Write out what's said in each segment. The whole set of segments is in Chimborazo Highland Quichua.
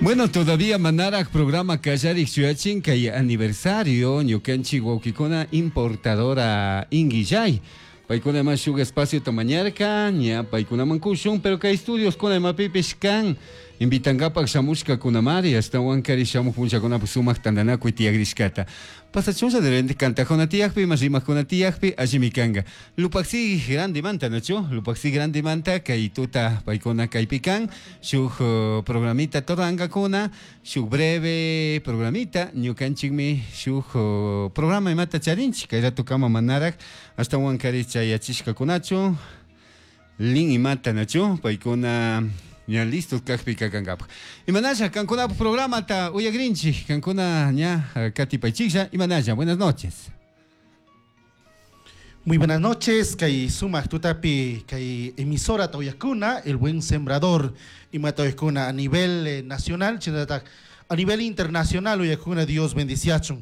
Bueno, todavía manaraj programa kallarik shuyachin kay aniversario ñukanchik wawkikuna importadora Inguillay. Paykuna ima shuk espaciota mañarka, ña paykunaman kushun, pero kay estudios kuna imapipish kan invitankapak shamushkakunamari, ashtawankari shamuk punllakunapak sumak tantanakuy tiyakrishkata. Pasachunlla de repente kantajuna tiyakpi, ima rimakuna tiyakpi, allimi kanka. Lupaxi grandemanta, nachu? Lupaxi grandemanta kay tuta paykuna kaypi kan, shuk programita turankakuna, shuk breve programita, ñukanchikmi shuk programa imata charinchik, kay ratukama manaraj, ashtawankari chayachishkakunachu, lin imata, nachu? Paykuna ña listos kakpi kakankapak. Imanalla kankunapak programata uyakrinchik, kankuna ña katipaychiklla, imanalla, buenas noches. Muy buenas noches, kay sumak tutapi, kay emisora Toyacuna, El Buen Sembrador, ima Toyacuna a nivel nacional, shinallatak a nivel internacional, Uyakuna, Dios bendiciachun.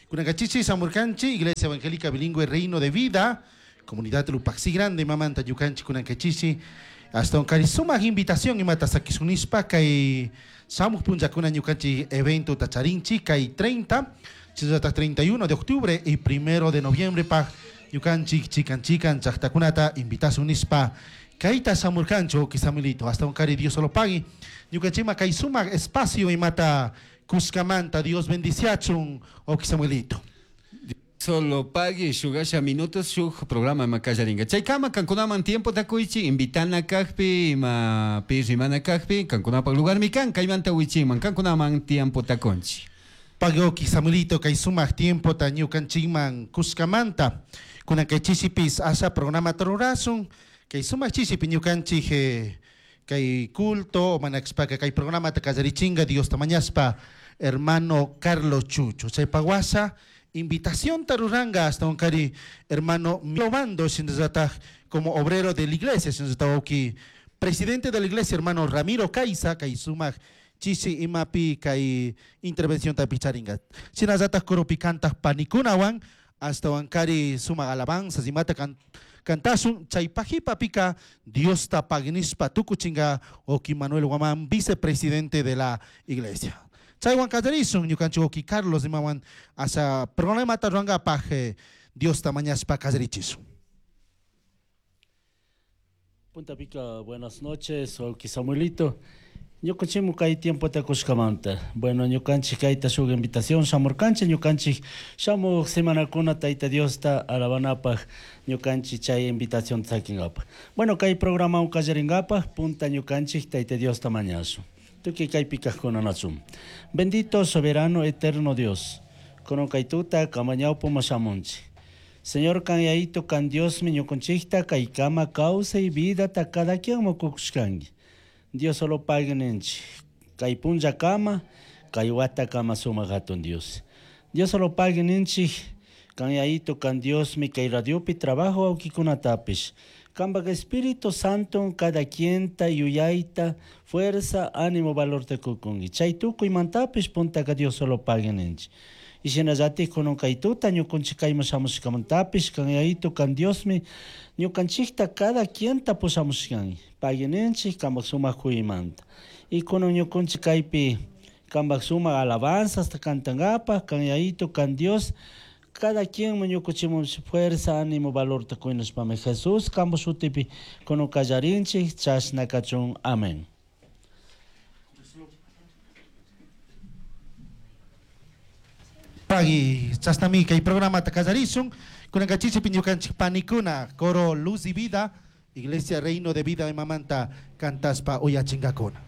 Kunankachichi, Samurkanchi, Iglesia Evangélica Bilingüe Reino de Vida, Comunidad Lupaxi Grande, Mamanta Yukanchi, Kunankachichi, hasta un cari sumak invitación imata sakisunispa, kay Samuk Punjakuna Ñukanchi evento tacharinchi, kay 30, shinallatak 31 de octubre y 1 de noviembre pa ñukanchik chikan chikan llaqtakunata invitasun nispa kayta samurkanchu kisamilito hasta un cari Dios solo pagui ñukanchikma kay sumak espacio imata kuskamanta Dios bendiciachun okisamuelito. Solo pagui shugasha minutos shuk programa ima kallarinka. Chaykama kankunaman tiempo takuychi invitana kakpi ima pi rimana kakpi kankunapak lugarmi kan kaymanta wichiman kankunaman tiempo takunchi. Pagui Samuelito kay sumak tiempo ta ñukanchikman kuskamanta kunan kay chisipis asa programa rurasun kay sumak chisipi ñukanchik kay culto manakspaka kay programa ta kallarichinga Dios tamañaspa hermano Carlos Chucho chaypaguasa invitación taruranga hasta un cari hermano Milobando shinallataj como obrero de la iglesia shinallatahuki presidente de la iglesia hermano Ramiro Caiza kay sumak chisi imapi kay intervención tapicharinga shinallataj coropi kantaq panikunawan hasta wankari sumak alabanzas imata cantasun chaypajipa pika Dios ta pagnispa tukuchinga oki Manuel Guamán vicepresidente de la iglesia chaywan kallarisun ñukanchik oki Carlos imawan asa programata ruwankapaj Dios ta mañaspa kallarichisun. Punta pica, buenas noches, Oki Samuelito. Ñukanchikmu kay tiempo takushkamanta. Bueno, ñukanchik kayta shuk invitación shamurkanchik, ñukanchik shamuq semanakuna Tayta Diosta alabanapaj ñukanchik chay invitación sakinkapaj. Bueno, kay programa kallarinkapaj punta ñukanchik Tayta Diosta mañashun. Tukuy kaypi kajkuna nachun. Bendito, soberano, eterno Dios. Kunan kay tuta kamañawpuma shamunchik. Señor kan Yayito kan Diosmi ñukanchikta kaykama kawsay vidata cada quien mukukushkanki. Dios solo pague ninchik. Kay punllakama, kay watakama sumak hatun Dios. Dios solo pague ninchik. Kan Yayito kan Diosmi kay radiopi trabajo wawkikunatapish. Kambak Espíritu Santo cada quien ta yuyayta, fuerza, ánimo, valor te kukunki. Chay tukuymantapish puntaka Dios solo pague ninchik. Y shinallatik kunan kay tuta ñukanchik kayman shamushkamantapish kan Yayito kan Diosmi ñukanchikta cada quien ta pushamushkanki. Pagui ninchik kambak sumak kuymanta. Y kunan ñukanchik kaypi kambak sumak alabanzas ta kantankapaj kan Yayito kan Dios cada quien ñukanchikmun fuerza, ánimo, valor ta kuynashpami Jesús kampak shutipi kunan kallarinchik chashna kachun. Amén. Pagui chashnami kay programa ta kallarisun kunanka chichipi ñukanchik panikuna coro Luz y Vida Iglesia Reino de Vida imamanta kantaspa uyachinkakuna.